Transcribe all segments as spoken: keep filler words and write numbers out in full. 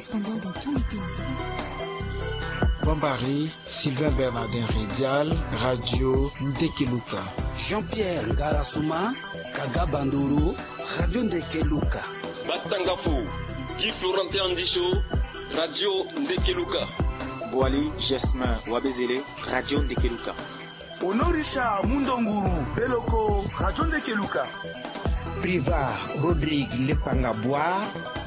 Correspondant dans tous les pays. Bambari, Sylvain Bernardin Redial, Radio Ndekeluka. Jean-Pierre Ngarasuma, Kaga Bandoro, Radio Ndekeluka. Batangafo, Guy Florentin Andicho, Radio Ndekeluka. Boali Gesmin Wabezele, Radio Ndekeluka. Honoré Richard Mundonguru Beloko, Radio Ndekeluka. Priva Rodrigue Lepanga Boa,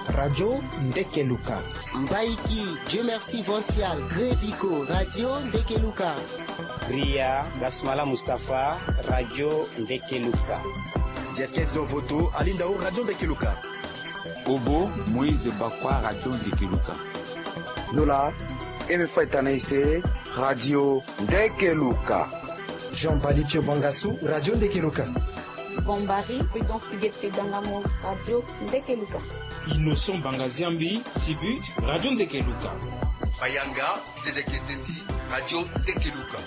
Radio Ndekeluka. Mbaiki Dieu Merci Vancial Grevico, Radio Ndekeluka. Ria Basmala Mustapha, Radio Ndekeluka. Jeskes Dovoto Alindao, Radio Ndekeluka. Obo Moïse Bakwa, Radio Ndekeluka. Zola Eme Faitana Ise, Radio Ndekeluka. Jean Bali Pio Bangasu, Radio Ndekeluka. Bombari Prudence Pigete Dangamo, Radio Ndekeluka. Innocent Bangaziambi Sibu, Radio Ndekeluka. Bayanga Zedeke Tendi, Radio Ndekeluka.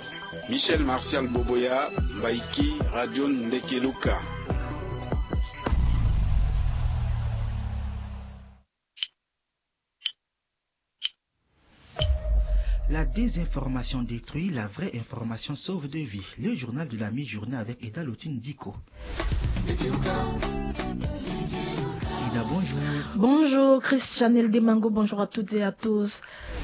Michel Martial Boboya, Mbaiki, Radio Ndekeluka. La désinformation détruit, la vraie information sauve des vies. Le journal de la mi-journée avec Eda Lotine Diko. Eda, bonjour. Bonjour, Christianel Demango, bonjour à toutes et à tous.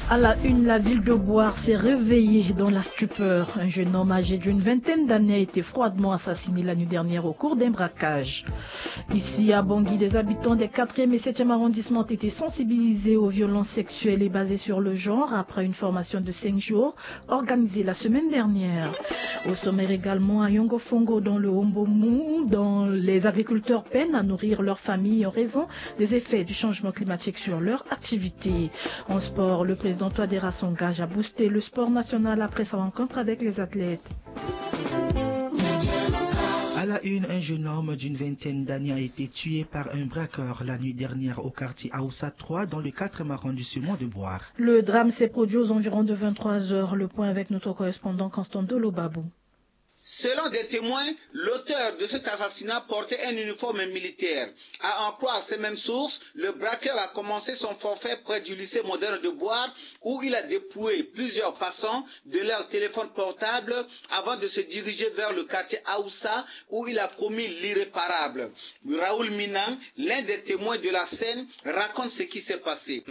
À la une, la ville de Boar s'est réveillée dans la stupeur. Un jeune homme âgé d'une vingtaine d'années a été froidement assassiné la nuit dernière au cours d'un braquage. Ici, à Bangui, des habitants des quatrième et septième arrondissements ont été sensibilisés aux violences sexuelles et basées sur le genre après une formation de cinq jours organisée la semaine dernière. Au sommaire également, à Yongofongo, dans le Hombomou, dont les agriculteurs peinent à nourrir leur famille en raison des effets du changement climatique sur leur activité. En sport, le président Touadéra s'engage à booster le sport national après sa rencontre avec les athlètes. À la une, un jeune homme d'une vingtaine d'années a été tué par un braqueur la nuit dernière au quartier Aoussa trois, dans le quatrième arrondissement de Boar. Le drame s'est produit aux environs de vingt-trois heures. Le point avec notre correspondant Constant Dolo Babou. Selon des témoins, l'auteur de cet assassinat portait un uniforme militaire. À en croire ces mêmes sources, le braqueur a commencé son forfait près du lycée moderne de Boar, où il a dépouillé plusieurs passants de leur téléphone portable avant de se diriger vers le quartier Aoussa, où il a commis l'irréparable. Raoul Minan, l'un des témoins de la scène, raconte ce qui s'est passé.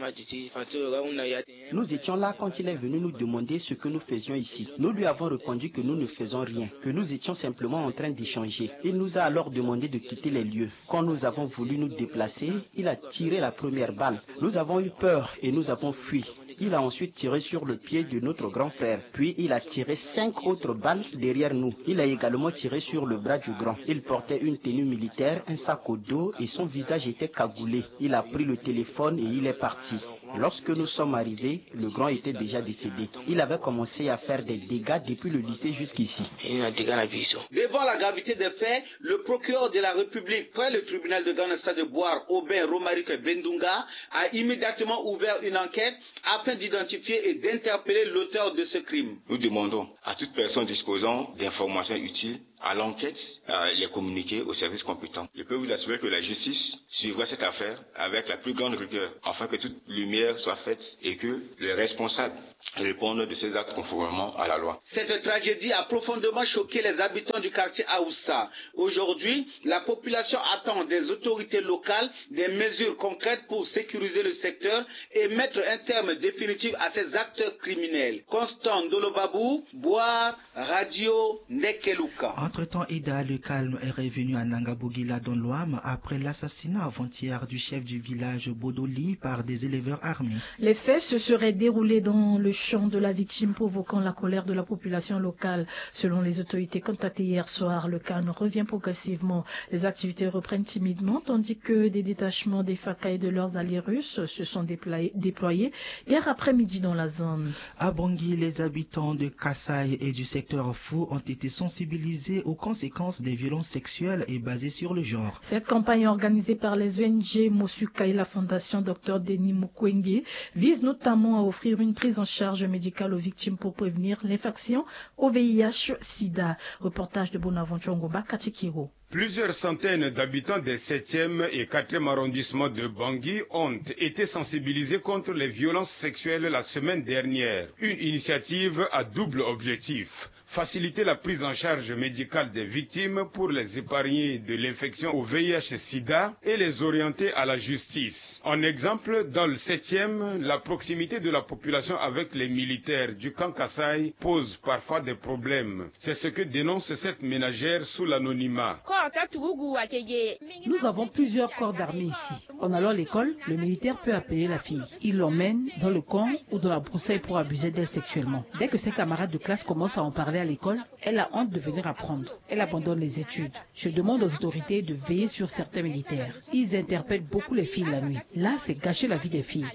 Nous étions là quand il est venu nous demander ce que nous faisions ici. Nous lui avons répondu que nous ne faisons rien, que nous étions simplement en train d'échanger. Il nous a alors demandé de quitter les lieux. Quand nous avons voulu nous déplacer, il a tiré la première balle. Nous avons eu peur et nous avons fui. Il a ensuite tiré sur le pied de notre grand frère. Puis il a tiré cinq autres balles derrière nous. Il a également tiré sur le bras du grand. Il portait une tenue militaire, un sac au dos et son visage était cagoulé. Il a pris le téléphone et il est parti. Lorsque nous sommes arrivés, le grand était déjà décédé. Il avait commencé à faire des dégâts depuis le lycée jusqu'ici. Devant la gravité des faits, le procureur de la République près le tribunal de grande instance de Boar, Aubin Romaric Bendunga, a immédiatement ouvert une enquête afin d'identifier et d'interpeller l'auteur de ce crime. Nous demandons à toute personne disposant d'informations utiles à l'enquête, euh, les communiquer aux services compétents. Je peux vous assurer que la justice suivra cette affaire avec la plus grande rigueur afin que toute lumière soit faite et que les responsables répondent de ces actes conformément à la loi. Cette tragédie a profondément choqué les habitants du quartier Aoussa. Aujourd'hui, la population attend des autorités locales des mesures concrètes pour sécuriser le secteur et mettre un terme définitif à ces actes criminels. Constant Ndolobabou, Boar, Radio Ndekeluka. Entre-temps, Eda, le calme est revenu à Nangabogila dans l'Ouham après l'assassinat avant-hier du chef du village Bodoli par des éleveurs armés. Les faits se seraient déroulés dans le champ de la victime, provoquant la colère de la population locale. Selon les autorités contactées hier soir, le calme revient progressivement. Les activités reprennent timidement, tandis que des détachements des FACA et de leurs alliés russes se sont déployés, déployés hier après-midi dans la zone. À Bangui, les habitants de Kasaï et du secteur Fou ont été sensibilisés aux conséquences des violences sexuelles et basées sur le genre. Cette campagne organisée par les O N G Mosuka et la Fondation Docteur Denis Mukwege vise notamment à offrir une prise en charge médicale aux victimes pour prévenir l'infection au V I H sida. Reportage de Bonaventure Ngomba Katikiro. Plusieurs centaines d'habitants des septième et quatrième arrondissement de Bangui ont été sensibilisés contre les violences sexuelles la semaine dernière. Une initiative à double objectif. Faciliter la prise en charge médicale des victimes pour les épargner de l'infection au V I H sida et les orienter à la justice. En exemple, dans le septième, la proximité de la population avec les militaires du camp Kasaï pose parfois des problèmes. C'est ce que dénonce cette ménagère sous l'anonymat. Nous avons plusieurs corps d'armée ici. En allant à l'école, le militaire peut appeler la fille. Il l'emmène dans le camp ou dans la broussaille pour abuser d'elle sexuellement. Dès que ses camarades de classe commencent à en parler à l'école, elle a honte de venir apprendre. Elle abandonne les études. Je demande aux autorités de veiller sur certains militaires. Ils interpellent beaucoup les filles la nuit. Là, c'est gâcher la vie des filles.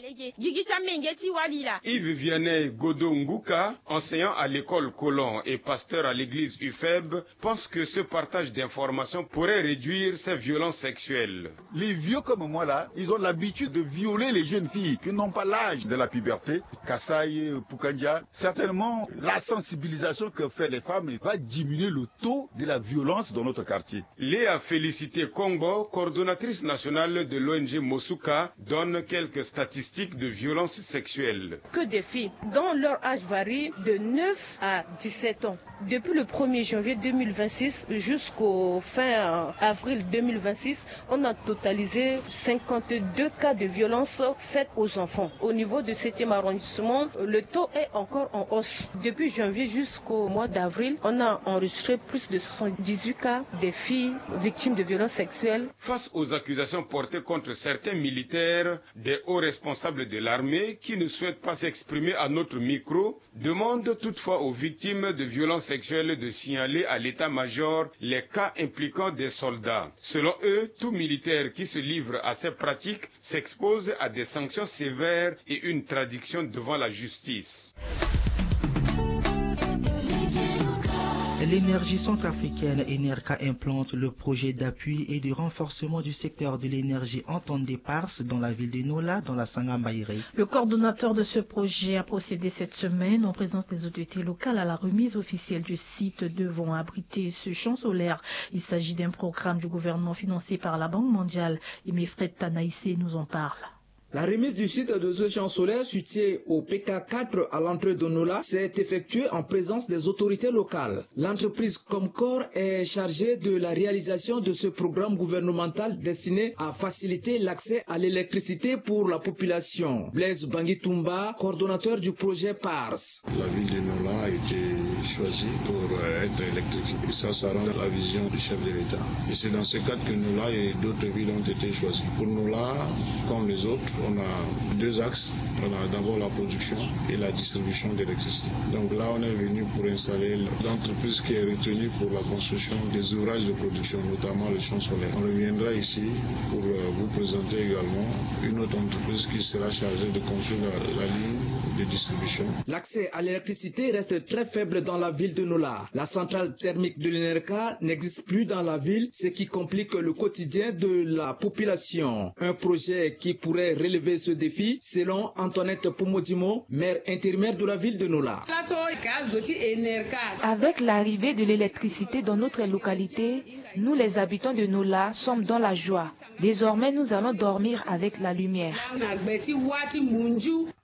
Yves Vianney Godo Nguka, enseignant à l'école Colon et pasteur à l'église U F E B, pense que ce partage d'informations pourrait réduire ces violences sexuelles. Les vieux comme moi là, ils ont l'habitude de violer les jeunes filles qui n'ont pas l'âge de la puberté. Kasaï, Pukandia, certainement la sensibilisation que fait les femmes va diminuer le taux de la violence dans notre quartier. Léa Félicité Kongbo, coordonnatrice nationale de l'O N G Mosuka, donne quelques statistiques de violence sexuelle. Que des filles dont leur âge varie de neuf à dix-sept ans. Depuis le premier janvier deux mille vingt-six jusqu'au fin, euh, avril deux mille vingt-six, on a totalisé cinquante-deux cas de violence faite aux enfants. Au niveau du septième arrondissement, le taux est encore en hausse. Depuis janvier jusqu'au mois d'avril, on a enregistré plus de soixante-dix-huit cas de filles victimes de violences sexuelles. Face aux accusations portées contre certains militaires, des hauts responsables de l'armée qui ne souhaitent pas s'exprimer à notre micro demandent toutefois aux victimes de violences sexuelles de signaler à l'état-major les cas impliquant des soldats. Selon eux, tout militaire qui se livre à ces pratiques s'expose à des sanctions sévères et une traduction devant la justice. L'énergie centrafricaine Enerca implante le projet d'appui et de renforcement du secteur de l'énergie en Tondé Pars dans la ville de Nola, dans la Sangha Mbairé. Le coordonnateur de ce projet a procédé cette semaine, en présence des autorités locales, à la remise officielle du site devant abriter ce champ solaire. Il s'agit d'un programme du gouvernement financé par la Banque mondiale. Et Mefred Tanaïsé nous en parle. La remise du site de ce champ solaire situé au P K quatre à l'entrée de Nola s'est effectuée en présence des autorités locales. L'entreprise Comcor est chargée de la réalisation de ce programme gouvernemental destiné à faciliter l'accès à l'électricité pour la population. Blaise Bangitumba, coordonnateur du projet Pars. La ville de Nola a été choisie pour, euh, être électrifiée. Et ça, ça rend la vision du chef de l'État. Et c'est dans ce cadre que Nola et d'autres villes ont été choisies. Pour Nola, comme les autres, on a deux axes. On a d'abord la production et la distribution d'électricité. Donc là, on est venu pour installer l'entreprise qui est retenue pour la construction des ouvrages de production, notamment le champ solaire. On reviendra ici pour, euh, vous présenter également une autre entreprise qui sera chargée de construire la, la ligne de distribution. L'accès à l'électricité reste très faible dans la ville de Nola. La centrale thermique de l'Enerca n'existe plus dans la ville, ce qui complique le quotidien de la population. Un projet qui pourrait relever ce défi, selon Antoinette Pomodimo, maire intérimaire de la ville de Nola. Avec l'arrivée de l'électricité dans notre localité, nous les habitants de Nola sommes dans la joie. Désormais, nous allons dormir avec la lumière.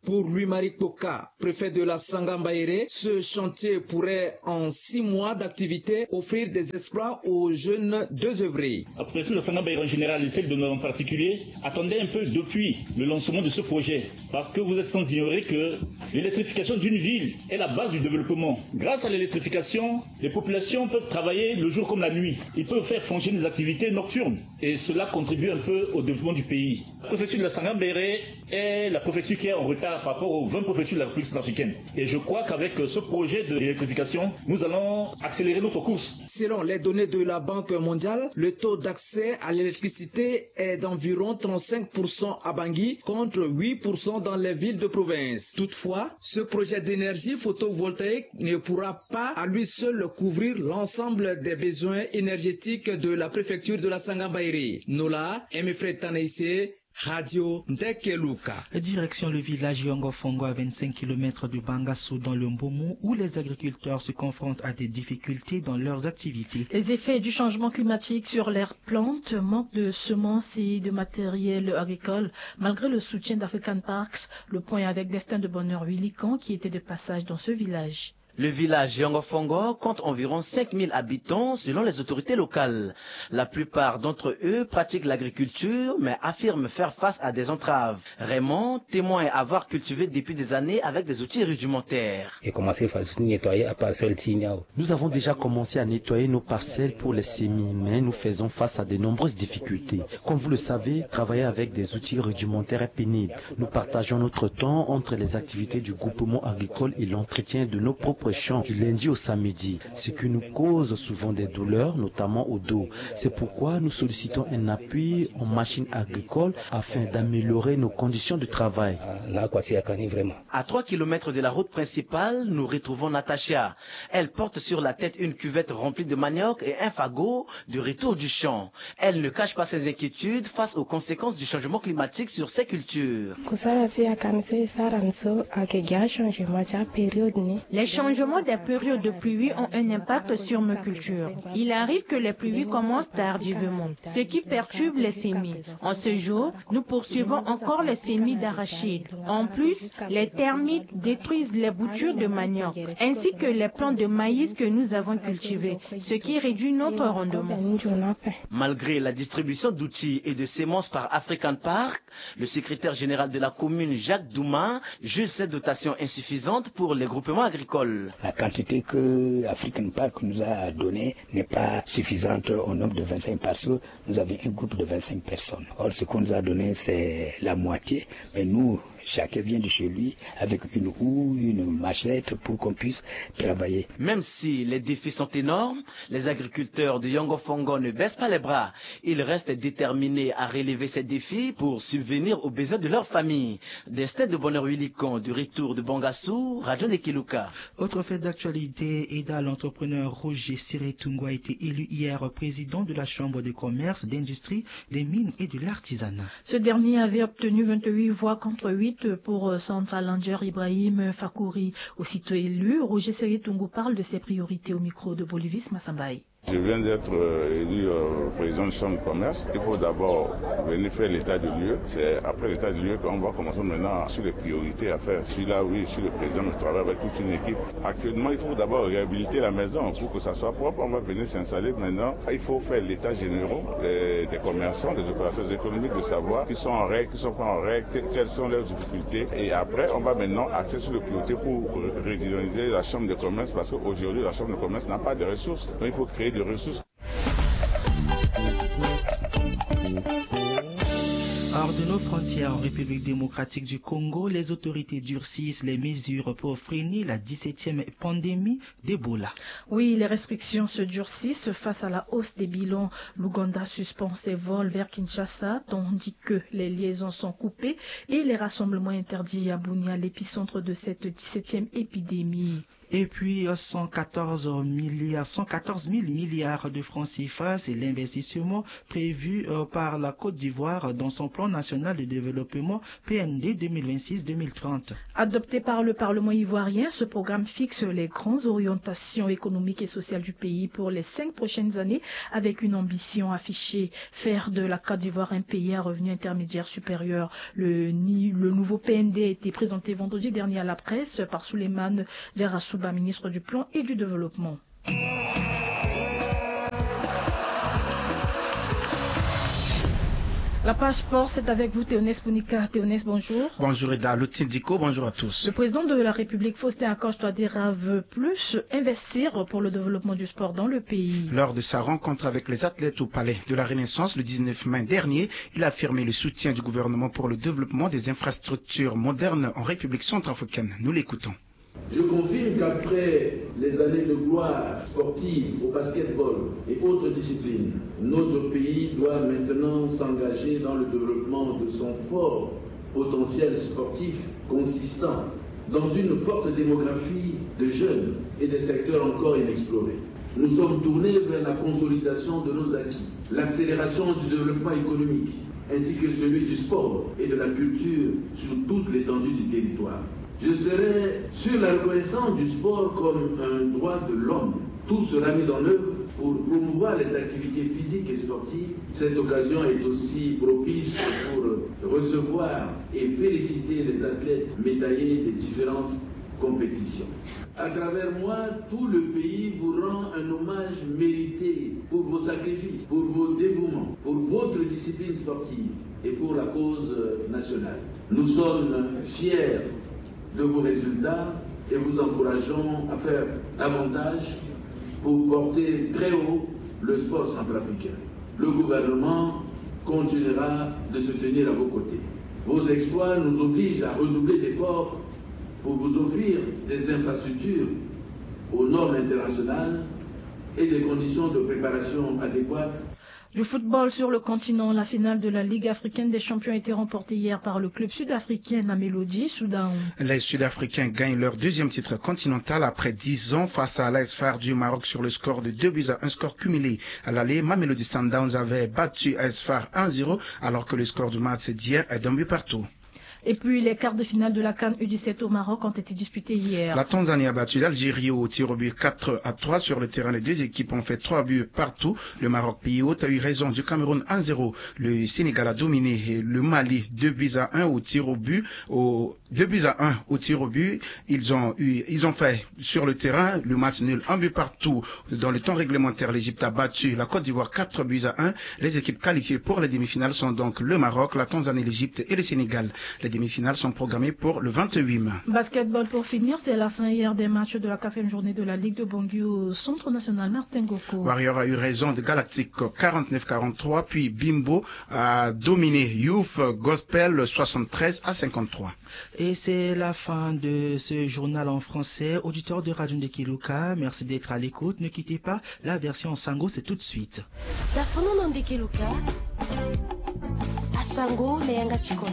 Pour Louis-Marie Kpoka, préfet de la Sangha Mbaéré, ce chantier pourrait, en six mois d'activité, offrir des exploits aux jeunes désœuvrés. La population de la Sangha Mbaéré en général et celle de Nola en particulier attendait un peu depuis le lancement de ce projet. Parce que vous êtes sans ignorer que l'électrification d'une ville est la base du développement. Grâce à l'électrification, les populations peuvent travailler le jour comme la nuit. Ils peuvent faire fonctionner des activités nocturnes. Et cela contribue un peu au développement du pays. La préfecture de la Sangambéré est la préfecture qui est en retard par rapport aux vingt préfectures de la République centrafricaine. Et je crois qu'avec ce projet d'électrification, nous allons accélérer notre course. Selon les données de la Banque mondiale, le taux d'accès à l'électricité est d'environ trente-cinq pour cent à Bangui, contre huit pour cent dans les villes de province. Toutefois, ce projet d'énergie photovoltaïque ne pourra pas à lui seul couvrir l'ensemble des besoins énergétiques de la préfecture de la Sangambéré. Nola, Emefred Tanaïsé, Radio Ndeke Luka. Direction le village Yongofongo, à vingt-cinq kilomètres de Bangassou, dans le Mbomou, où les agriculteurs se confrontent à des difficultés dans leurs activités. Les effets du changement climatique sur leurs plantes, manque de semences et de matériel agricole. Malgré le soutien d'African Parks, le point avec Destin de Bonheur Huilican, qui était de passage dans ce village. Le village Yongofongo compte environ cinq mille habitants selon les autorités locales. La plupart d'entre eux pratiquent l'agriculture, mais affirment faire face à des entraves. Raymond témoigne avoir cultivé depuis des années avec des outils rudimentaires. E commencé fa nettoyer a parcelle ti ni awe. Nous avons déjà commencé à nettoyer nos parcelles pour les semis, mais nous faisons face à de nombreuses difficultés. Comme vous le savez, travailler avec des outils rudimentaires est pénible. Nous partageons notre temps entre les activités du groupement agricole et l'entretien de nos propres champs du lundi au samedi, ce qui nous cause souvent des douleurs, notamment au dos. C'est pourquoi nous sollicitons un appui en machines agricoles afin d'améliorer nos conditions de travail. Ah, là, quoi, c'est Akani, vraiment. À trois kilomètres de la route principale, nous retrouvons Natacha. Elle porte sur la tête une cuvette remplie de manioc et un fagot de retour du champ. Elle ne cache pas ses inquiétudes face aux conséquences du changement climatique sur ses cultures. Kosala ti ya ka mi so e sara ni so ayeke gi achangement ti apériode ni. Les changements des périodes de pluie ont un impact sur nos cultures. Il arrive que les pluies commencent tardivement, ce qui perturbe les semis. En ce jour, nous poursuivons encore les semis d'arachides. En plus, les termites détruisent les boutures de manioc, ainsi que les plants de maïs que nous avons cultivés, ce qui réduit notre rendement. Malgré la distribution d'outils et de semences par African Park, le secrétaire général de la commune, Jacques Douma, juge cette dotation insuffisante pour les groupements agricoles. La quantité que African Park nous a donnée n'est pas suffisante au nombre de vingt-cinq, parce que nous avions un groupe de vingt-cinq personnes. Or, ce qu'on nous a donné, c'est la moitié. Mais nous, chacun vient de chez lui avec une houe, une machette pour qu'on puisse travailler. Même si les défis sont énormes, les agriculteurs de Yongofongo ne baissent pas les bras. Ils restent déterminés à relever ces défis pour subvenir aux besoins de leur famille. Destin de Bonheur Huilican, du retour de Bangassou, Radio Ndeke Luka. Autre fait d'actualité, Eda, l'entrepreneur Roger Seretungu a été élu hier président de la Chambre de commerce, d'industrie, des mines et de l'artisanat. Ce dernier avait obtenu vingt-huit voix contre huit pour, euh, Sansa Langer Ibrahim Fakouri. Aussitôt élu, Roger Seretungu parle de ses priorités au micro de Bolivis Massambaye. Je viens d'être, euh, élu, euh, président de chambre de commerce. Il faut d'abord venir faire l'état de lieu. C'est après l'état de lieu qu'on va commencer maintenant sur les priorités à faire. Je suis là, oui, je suis le président, mais je travaille avec toute une équipe. Actuellement, il faut d'abord réhabiliter la maison pour que ça soit propre. On va venir s'installer maintenant. Il faut faire l'état général des, des commerçants, des opérateurs économiques, de savoir qui sont en règle, qui sont pas en règle, que-, quelles sont leurs difficultés. Et après, on va maintenant axer sur les priorités pour ré-, redynamiser la chambre de commerce, parce qu'aujourd'hui, la chambre de commerce n'a pas de ressources. Donc, il faut créer des ressources. Hors de nos frontières, en République démocratique du Congo, les autorités durcissent les mesures pour freiner la dix-septième pandémie d'Ebola. Oui, les restrictions se durcissent face à la hausse des bilans. L'Ouganda suspend ses vols vers Kinshasa, tandis que les liaisons sont coupées et les rassemblements interdits à Bunia, l'épicentre de cette dix-septième épidémie. Et puis, euh, cent quatorze milliards, cent quatorze mille milliards de francs C F A, c'est l'investissement prévu, euh, par la Côte d'Ivoire dans son plan national de développement P N D deux mille vingt-six deux mille trente. Adopté par le Parlement ivoirien, ce programme fixe les grandes orientations économiques et sociales du pays pour les cinq prochaines années, avec une ambition affichée, faire de la Côte d'Ivoire un pays à revenu intermédiaire supérieur. Le ni-, le nouveau P N D a été présenté vendredi dernier à la presse par Souleymane Diarra Souba, ministre du Plan et du Développement. La page sport, c'est avec vous, Théonès Pounika. Théonès, bonjour. Bonjour, Eda Lotindiko, bonjour à tous. Le président de la République, Faustin Archange Touadéra, veut plus investir pour le développement du sport dans le pays. Lors de sa rencontre avec les athlètes au palais de la Renaissance le dix-neuf mai dernier, il a affirmé le soutien du gouvernement pour le développement des infrastructures modernes en République centrafricaine. Nous l'écoutons. Je confirme qu'après les années de gloire sportive au basketball et autres disciplines, notre pays doit maintenant s'engager dans le développement de son fort potentiel sportif consistant dans une forte démographie de jeunes et des secteurs encore inexplorés. Nous sommes tournés vers la consolidation de nos acquis, l'accélération du développement économique, ainsi que celui du sport et de la culture sur toute l'étendue du territoire. Je serai sur la reconnaissance du sport comme un droit de l'homme. Tout sera mis en œuvre pour promouvoir les activités physiques et sportives. Cette occasion est aussi propice pour recevoir et féliciter les athlètes médaillés des différentes compétitions. À travers moi, tout le pays vous rend un hommage mérité pour vos sacrifices, pour vos dévouements, pour votre discipline sportive et pour la cause nationale. Nous sommes fiers de vos résultats et vous encourageons à faire davantage pour porter très haut le sport centrafricain. Le gouvernement continuera de se tenir à vos côtés. Vos exploits nous obligent à redoubler d'efforts pour vous offrir des infrastructures aux normes internationales et des conditions de préparation adéquates. Du football sur le continent, la finale de la Ligue africaine des champions a été remportée hier par le club sud-africain Mamelodi Sundowns. Les Sud-Africains gagnent leur deuxième titre continental après dix ans face à l'A S F A R du Maroc sur le score de deux buts à un, score cumulé. À l'aller, Mamelodi Sundowns avait battu A S F A R un zéro, alors que le score du match d'hier est d'un but partout. Et puis, les quarts de finale de la CAN U dix-sept au Maroc ont été disputés hier. La Tanzanie a battu l'Algérie au tir au but quatre à trois sur le terrain. Les deux équipes ont fait trois buts partout. Le Maroc, pays hôte, a eu raison du Cameroun un zéro. Le Sénégal a dominé le Mali deux buts à un au tir au but. Au deux buts à un au tir au but. Ils ont eu, ils ont fait sur le terrain le match nul, un but partout. Dans le temps réglementaire, l'Égypte a battu la Côte d'Ivoire quatre buts à un. Les équipes qualifiées pour les demi-finales sont donc le Maroc, la Tanzanie, l'Égypte et le Sénégal. Les demi-finales sont programmées pour le vingt-huit mai. Basketball pour finir, c'est la fin hier des matchs de la quatrième journée de la Ligue de Bangui au Centre National Martin Ngoko. Warrior a eu raison de Galactic quarante-neuf quarante-trois, puis Bimbo a dominé Youth Gospel soixante-treize à cinquante-trois. Et c'est la fin de ce journal en français. Auditeurs de Radio Ndeke Luka, merci d'être à l'écoute. Ne quittez pas, la version en sango, c'est tout de suite. Dafono na Ndeke Luka, asango na yanga ti kodro.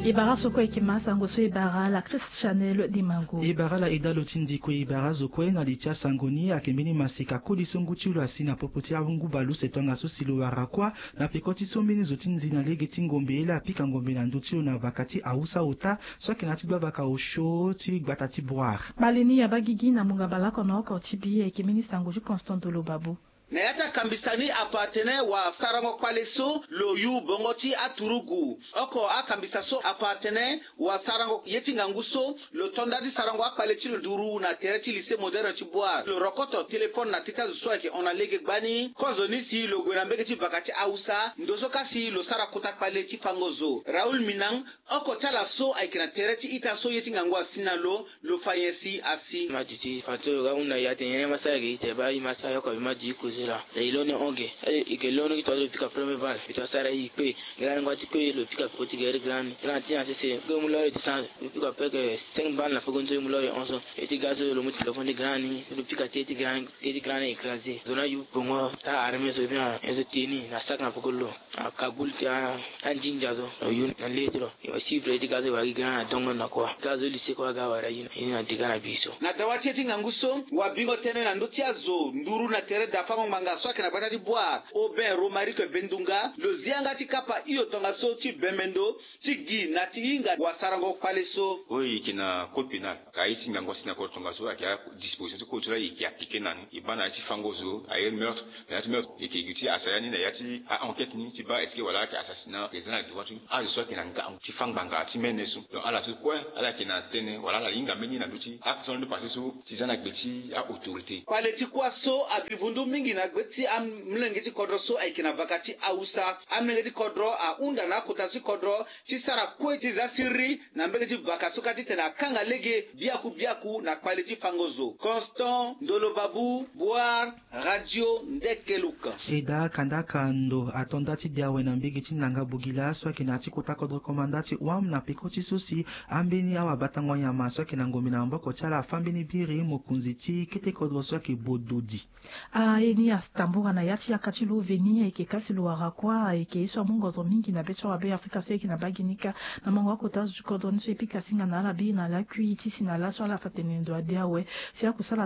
E bara so kue e yeke ma asango so e bara la Christ Chanel Dimango. E bara la Eda Lotindiko, e bara zo kue na li ti asango ni. Ayeke mbeni maseka koli so ngu ti lo asi na popo ti angu bale use tongaso si lo wara kuâ na peko ti so mbeni zo ti nzi na lege ti ngombe, laa apika ngombe na ndö ti lo na vaka ti awusa ota so ayeke na ya ti gbavaka osio ti gbata ti Boire. Bale ni abaa gigi na munga baleoko na oko ti bi, ayeke mbeni sango ti Constant Dolo Babou. Na ya ti akambisa ni afa atene wasarango kpale so lo yu bongo ti aturugu. Oko akambisa so afa atene wasarango ye ti ngangu so lo to nda ti sarango akpale ti lo nduru na tere ti lycée moderne ti Boire. Lo rokoto téléphone na teti azo so ayeke hon na lege gbani. Kozo ni si lo gue na mbege ti vaka ti awusa, ndo so ka si lo sara kota kpale ti fango zo. Raoul Minang, oko ti ala so ayeke na tere ti ita so ye ti ngangu asi na lo, lo fa nyen si asi. Madi ti fa so lo ga hunda ya tene nyen ma sara gi te baa i ma sara yoko abi madi ti koze laa. Na i londo hon ge. E, i ke londo gi tongaso lo pika premier balle. I to sara i kpe. Grand ni ngua ti kue lo pika peko ti gere grand ni. Grand ti na sese. Kue mu lori ti san. Lo pika peke cinq balle na peko nzoni mu lori hon so. E ti ga so lo mu téléphone ti grand ni. Lo pika te ti grand ni. Te ti grand ni écrasé. Zo na yu bongo ta armé so bien. E so teni na sac na peko lo. Akagul ti a, andindia so. Lo yu na le ti lo. E suivre ti ga so e wara gi grand na dongo na kua. Ga so lycée kua ga wara ye na, ye na dega na bi so. Na dawa ti ye ti ngangu so, wabingo tënë na ndö ti azo nduru na tere dafango ngbanga so ayeke na gbata ti Boire, Aubin Romaric Bendunga, lo zi yanga ti kapa hio tongaso ti bembe ndo ti gi na ti hinga wasarango kpale so. Oyo e yeke na code pénal, ka ye ti ngangu asi na code tongaso ayeke adisposition ti code so laa e yeke appliqué na ni. E baa na ya ti fango zo, aye meurtre, na ya ti meurtre, e yeke gi ti asara ya ni na ya ti a-enquête ni ti baa est-ce que wala ayeke assassinat, e za na devoir ti azo so ayeke na ngangu ti fâ ngbanga ti mene so. Donc ala so kue ala yeke na tënë wala ala hinga mbeni na ndö ti action ni passé so ti za na gbe ti a-autorité. Kpale ti kuâ so abi vundu mingi Na gbe ti amolenge ti kodro so ayeke na vaka ti awusa, amolenge ti kodro ahunda na akota ti kodro ti sara kue ti za siriri na mbege ti vaka so kâ titene akanga lege biaku biaku na kpale ti fango zo. Constant Ndolo Babu, Boire, Radio Ndekeluka. E daa kandaka ndo ato nda ti de awe na mbege ti nanga bogila so ayeke na ya ti kota kodro komanda ti wam na peko ti so si ambeni awabatango nyama so ayeke na ngombe na maboko ti ala afâ mbeni biri mokonzi ti kete kodro so ayeke Bododi. Aye ni atambura na ya ti yaka ti lo veni ayeke kasi lo wara kuâ ayeke ye so amu ngozo mingi na be ti awabe afrika so ayeke na mbage ni kâ. Na mango akota zo ti kodro ni so e pika singa na ala biri na lakui ti si na laso ala fa tene ndo ade awe. Si akusala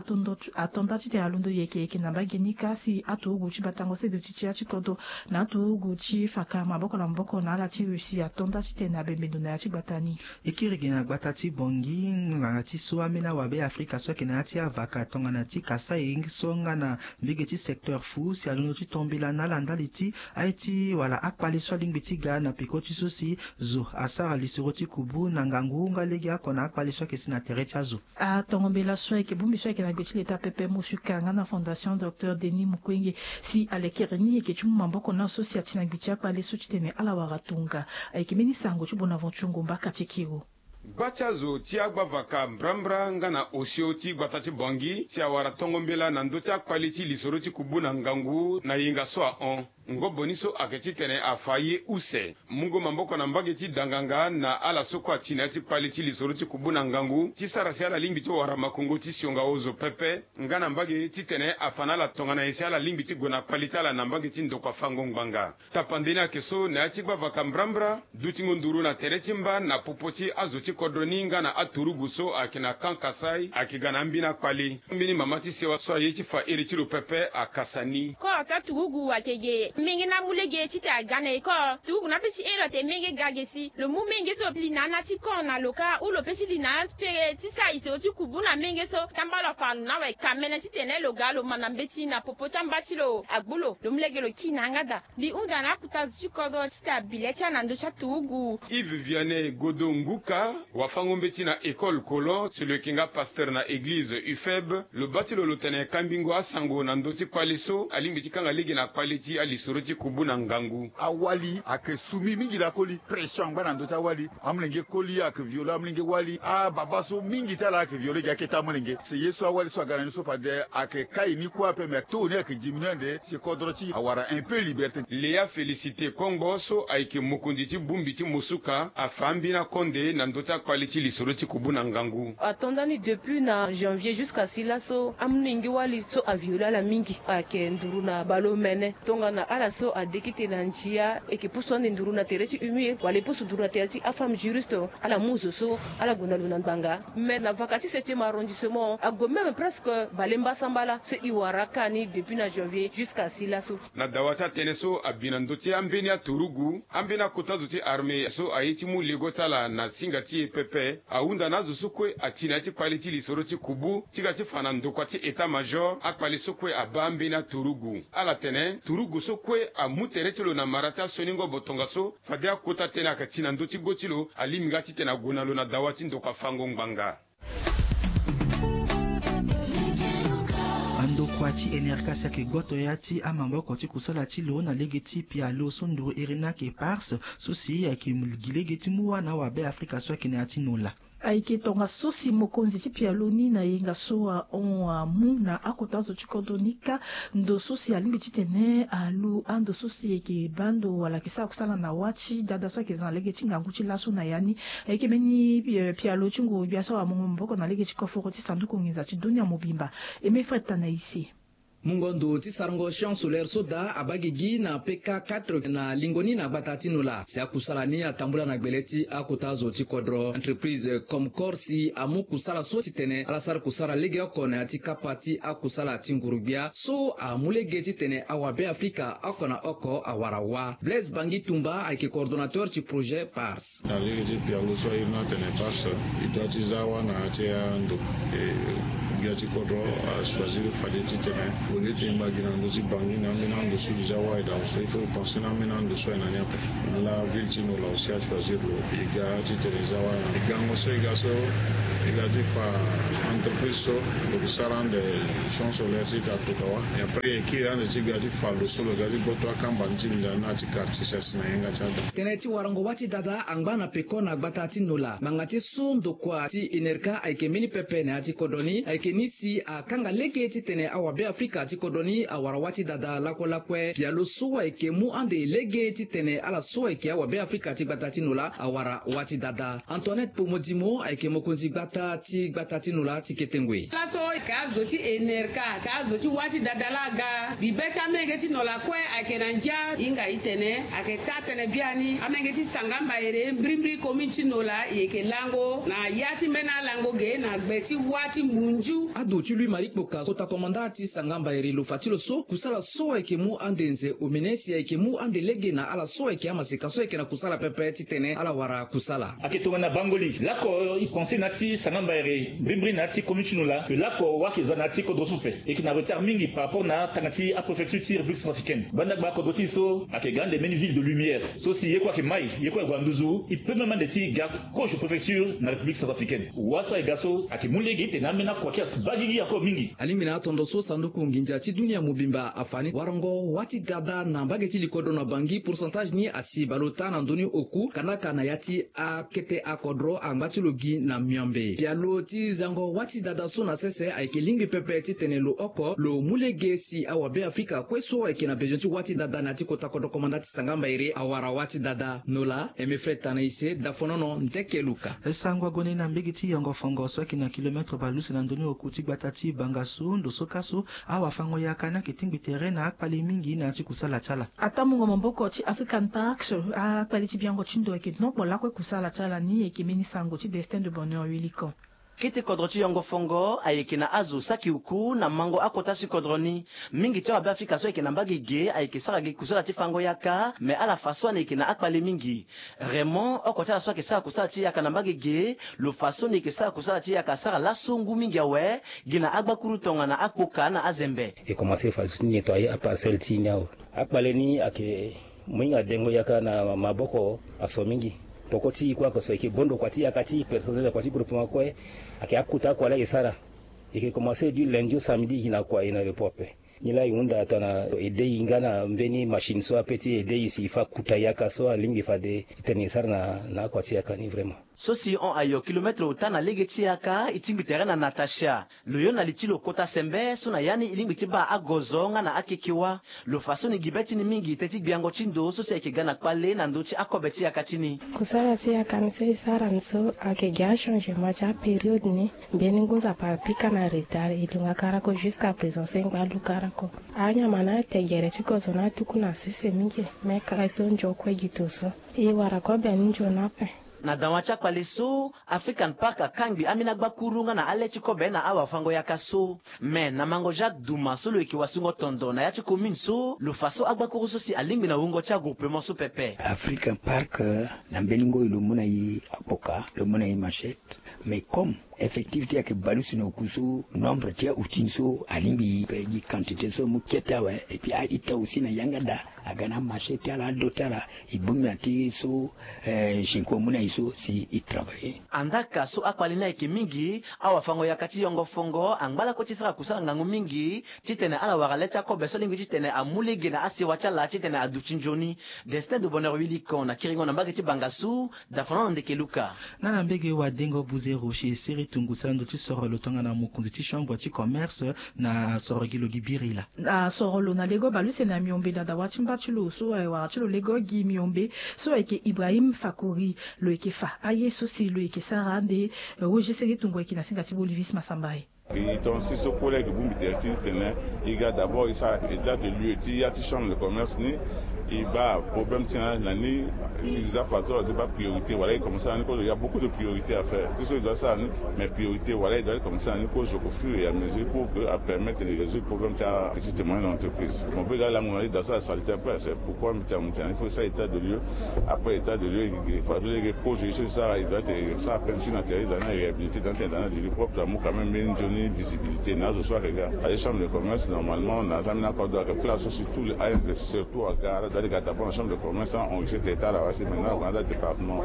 ato nda titene alondo yeke yeke na mbage ni kâ si aturugu ti batango seduti ti ya ti kodro na aturugu ti faka maboko na maboko na ala ti russie ato nda titene abembe ndo na ya ti gbata ni. E kiri gi na gbata ti Bangui ngbanga ti so ambeni awabe afrika so ayeke na ya ti avaka tongana ti Kasaï so nga na mbege ti secteur fu si alondo ti tombela na ala ndali ti aye ti wala akpale so alingbi ti ga na peko ti so si zo asara lisoro ti kubu na ngangu nga lege oko na akpale so ayeke si na tere ti azo. Atongo mbela so ayeke bongbi so ayeke na gbe ti leta pepe Musuka nga na fondation docteur Denis Mukwenge si alekere ni yeke ti mu maboko na so si ati na gbe ti akpale so titene ala wara tonga. Ayeke mbeni sango ti Bonaventure Ngomba Katikiro. Gba ti azo ti agbavaka mbrambra nga na osio ti gbata ti Bangui si awara tongo mbela na ndö ti akpali ti lisoro ti kubu na ngangu na yenga so ahon. Ngobo ni so ayeke titene afa ye use mungo maboko na mbage ti danganga na ala so kue ati na ya ti kpali ti lisoro ti kubu na ngangu ti sara si ala lingbi ti wara makongo ti sionga ozo pepe nga na mbage titene afa na ala tongana nyen si ala lingbi ti gue na kpali ti ala na mbage ti ndokua fango ngbanga. Tapande ni ayeke so na ya ti gbavaka mbrambra dutingo nduru na tere ti mba na popo ti azo ti kodro ni nga na aturugu so ayeke na camp Kasaï ayeke ga na ambeni akpali. Ambeni mama ti sewa so aye ti fa iri ti lo pepe akasa ni. Kor ti aturugu ayeke ge menge na mu lege titene aga na ecole. Turugu ni ape ti iri lo ate menge ga ge si lo mu menge so li na ana ti camp na lo kâ ou lo pe ti li na ana ti pere ti sara lisoro ti kubu na menge so. Tamba lo afa lo na awe kamene titene lo ga lo ma na mbeti na popo ti amba ti lo agbu lo lo mu lege lo kiri na yanga daa. Mbi hunda na akota zo ti kodro titene abi le ti ala na ndö ti aturugu. Yves Vianney Godo Nguka, wafango-mbeti na école Colon, si lo yeke nga pasteur na eglize Ufeb, lo baa ti lo lo tene kambingo asango na ndö ti kpale so alingbi ti kanga lege na kpale ti alisoro ti kubu na ngangu. Awali ayeke sumi mingi lakoli, pression angba na ndö ti awali. Amolenge koli ayeke viole amolenge wali. Ababa so mingi ti ala ayeke viole gi akete amolenge. Si ye so awali so aga na ni so fade ayeke kai ni kue ape me taux ni ayeke diminue ande si kodro ti awara un peu liberté. Léa Félicité Kongbo so ayeke mokonzi ti bongbi ti Mosuka afa ambeni akonde na ndö ti akpali ti lisoro ti kubu na ngangu. Ato nda ni depuis na janvier jusqu'à si laso amolenge wali so aviole ala mingi ayeke nduru na baleomene. Tongana ala so adekite na ndia e yeke pusu ande nduru na tere ti humier wala e pusu nduru na tere ti afemme juriste. Ala mu zo so ala gue na lo na ngbanga. Mais na vaka ti septième arrondissement ague même presque bale mbasambala so e wara kâ ni depuis na janvier jusqu'à si laso. Na dawa ti atënë so abi na ndö ti ambeni aturugu, ambeni akota zo ti armée so aye ti mu lego ti ala na singa ti e pepe ahunda na azo so kue ati na ya ti kpale ti lisoro ti kubu ti ga ti fa na ndokua ti état-major akpale so kue abaa ambeni aturugu. Ala tene turugu so kue amu tere ti lo na mara ti asioni ngobo tongaso fade akota tënë ayeke ti na ndö ti go ti lo alingbi nga titene ague na lo na dawa ti ndokua fango ngbanga. Andokua ti N R K si ayeke gboto ya ti amaboko ti kusala ti lo na lege ti pialo so nduru iri ni ayeke Pars so si ayeke gi lege ti mu wâ na awabe Afrika so ayeke na ya ti Nola. Ayeke tongaso si mokonzi ti pialo ni na yenga so ahon amu na akota zo ti kodro ni kâ. Ndo so si alingbi titene alu ando so si ayeke baa ndo wala ayeke sara kusala na wâ ti dada so ayeke za na lege ti ngangu ti laso na ya ni. Ayeke mbeni pialo ti nguru-gbia so amongo maboko na lege ti koforo ti sanduku nginza ti dunia mobimba. Aimé Fred Tanaïsé. Mungo ndo ti sarango champ solaire so daa abaa gigi na P K quatre na lingo ni na gbata ti Nola si akusala ni atambula na gbele ti akota zo ti kodro. Entreprise Comcor si amu kusala so titene ala sara kusala legeoko na ya ti kapa ti akusala ti nguru-gbia so amu lege titene awabe Afrika oko na oko awara wâ. Blaise Bangi Tumba ayeke coordonnateur ti projet Pars. Na lege ti pialo so airi ni atene Pars, e dua ti za wâ na ya ti ando. E, gbia ti kodro achoisir fade titene au lieu ti e ngba gi na ndö ti Bangi na ambeni ando so e za wâ e daa so, il faut e penser na ambeni ando so aye na ni ape. Laa ville ti Nola aussi achoisir lo e ga titene e za wâ na e gango so e ga so, e ga ti fa Entreprise so lo ke sara ande champ solaire ti ita toka wa. Et après e kiri ande ti ga ti fa lo so lo ga ti gboto akamba ni ti mbi daa na ti quartier si asi na yanga ti ada. Tënë ti warango wâ ti dada angba na peko na gbata ti Nola. Ngbanga ti so ndokua ti enerka ayeke mbeni pepe na ya ti kodro ni ayeke ni si akanga lege titene awabe afrika ti kodro ni awara wâ ti dada lakue lakue. Pialo so ayeke mu ande lege titene ala so ayeke awabe afrika ti gbata ti Nola awara wâ ti dada. Antoinette Pomodimo ayeke mokonzi gbata ti gbata ti Nola ti kete ngoi. Laso e ka azo ti enerka ka azo ti wâ ti dada laa aga. Bibe ti amenge ti Nola kue ayeke na ndia. Hinga itene ayeke taa tënë biani amenge ti Sangamba Ere mbirimbiri commune ti Nola e yeke lango na ya ti mbeni alango ge na gbe ti wâ ti Munju. Ado ti Louis Marie Kpoka kota komanda ti Sangamba Ere lo fa ti lo so kusala so ayeke mu ande nze omene si ayeke mu ande lege na ala so ayeke amaseka so ayeke na kusala pepe titene ala wara kusala. Ayeke tongana bangoli lako e pense na ya ti Sangamba Ere mbirimbiri na ya ti commune ti Nola. Lo lako wâ ayeke za na ya ti kodro so pepe. E yeke na retard mingi par rapport na tanga ti apréfecture ti République centrafricaine. Banda gba kodro ti e so ayeke ga ande mbeni ville de lumière so si ye kue ayeke mai ye kue ayeke gue na nduzu. E peut même ande ti ga kozo préfecture na République centrafricaine. Wâ so ayeke ga so ayeke mu lege titene ambeni akua ti asi baa gigi ako mingi. Alingbi na atondo so sanduku nginza ti dunia mobimba afa ni warango wâ ti dada na mbage ti likodro na Bangui pourcentage ni asi baleota na ndö ni oku kandaka na ya ti akete akodro angba ti lo gi na miombe. Pialo ti zango wâ ti dada so na sese ayeke lingbi pepe titene lo oko lo mu lege si awabe afrika kue so ayeke na bezoin ti wâ ti dada na ya ti kota kodro komanda ti Sangamba Ere awara wâ ti dada. Nola Emefre Tanaise Dafonono Ndeke Luka. E sango agonde na mbege ti Yongo Fongo so ayeke na kilometre bale use na ndö ni oku ti gbata ti Bangassou ndo so ka so awafango yaka ni ayeke tingbi tere na akpale mingi na ya ti kusala ti ala. Atambugo maboko ti African Parks, akpale ti biango ti ndo ayeke nokpo lakue kusala ti ala ni. Ayeke mbeni sango ti Destin de Bonheur Wilikon. Kete kodro ti Yongo Fongo ayeke na azo saki uku na mango akota si kodro ni. Mingi ti awabe afrika so ayeke na mbage ge ayeke sara gi kusala ti fango yaka me ala fa so ani yeke na akpale mingi. Raymond oko ti ala so ayeke sara kusala ti yaka na mbage ge lo fa so ni yeke sara kusala ti yaka asara laso ngu mingi awe gi na agbakuru tongana akpoka na azembe. E komanse fa zo ti nyen to aye aparcelle ti e ni awe. Akpale ni ayeke mu hinga dengo yaka na maboko aso mingi. Poko ti e kue ayeke so e yeke bondo kua ti yaka ti e personnel kua ti groupement kue. Ayeke akota kua laa e sara. E yeke komanse du lundi au samedi gi na kua e na repos ape. Nilaa e hunda tongana e de e nga na mbeni machine so ape ti e de e si e fa kuta yaka so alingbi fade titene e sara na akua ti yaka ni vraiment. So si e hon ayo kilometre ota na lege ti yaka e tingbi tere na Natacha. Lo yo na li ti lo kota sembe so na ya ni e lingbi ti baa agozo nga na akeke wâ. Lo fa so ni gi be ti ni mingi teti gbiango ti ndo so si ayeke ga na kpale na ndö ti akobe ti yaka ti ni. Kusala ti yaka ni so e sara ni so ayeke gi achangement ti apériode ni. Mbeni ngu nzapa apika na retard e lunga karako jusqu'à présent so e ngba lu karako. Anyama ni ate gere ti kozo ni atuku na sese mingi. Me kara so nzokue gi to so e wara kobe ni nzoni ape. Na dawa ti akpale so African Park akangbi ambeni agbakuru nga na ale ti kobe na awafango yaka so. Me na mango Jacques Duma so lo yeke wasungo tondo na ya ti commune so lo fa so agbakuru so si alingbi na wungo ti agroupement so pepe. African Park na mbeni ngoi lo mu na e akpoka lo mu na e machette. Mais comme effectif ti e ayeke baleuse na oku so nombre ti aoutil so alingbi e gi quantité so mu kete awe. Et puis a-ita aussi na yanga daa aga na amarché ti ala ado ti ala. E bongbi na ti so zinko amu na e so si e travailler. Andaka so akpale ni ayeke mingi awafango yaka ti yongo fongo angba lakue ti sara kusala ngangu mingi titene ala wara le ti akobe so alingbi titene amu lege na asewa ti ala titene aduti nzoni. Destin de Bonheur Wilikon na kiringo na mbage ti Bangassou. Dafana na ndeke Luka. Nga na mbege wadengo buze rocher sere tungu sara ndo ti soro lo tongana mokonzi ti chambre ti commerce na soro gi lo gi biri laa. Na soro lo na lego baleuse na miombe na dawa ti mba ti lo so aye wara ti lo lego gi miombe so ayeke Ibrahim Fakori. Lo yeke fa aye so si lo yeke sara ande rocher sere tungu ayeke na singa ti Bolivis Masambaye. E tongaso so kue laa e ke bongbi tere ti tene e ga d'abord e sara état de lieu ti ya ti chambre de commerce ni. E baa problème ti na ni e za facteur e za baa priorité wala e commencer na ni cause il y a beaucoup de priorité à faire ti so e doit sara ni. Mais priorité wala e doit commencer na ni cause au fur et à mesure pour que a permettre de résoudre problème ti a petite et moyenne entreprise. Mo be ga lango na ni dans ça salite après c'est pourquoi mbi tena mo tena il faut e sara état de lieu. Après état de lieu e fa so lege cause e so e sara e doit e sara peinture na tere e doit na réhabilité dans tena dans na de lieu propre amu quand même mbeni nzoni visibilité na azo so ayeke ga. Aye chambre de commerce normalement na za mbeni akodro ayeke place so si tous les a investisseurs tout aga ala doit ti ga d'abord na chambre de commerce a enregistré tere ti ala wala si maintenant ague na ala département.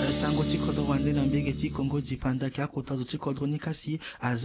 Eh, sango Ti kodro wande na mbege ti Kongo dipanda ayeke akota zo ti kodro ni kasi aza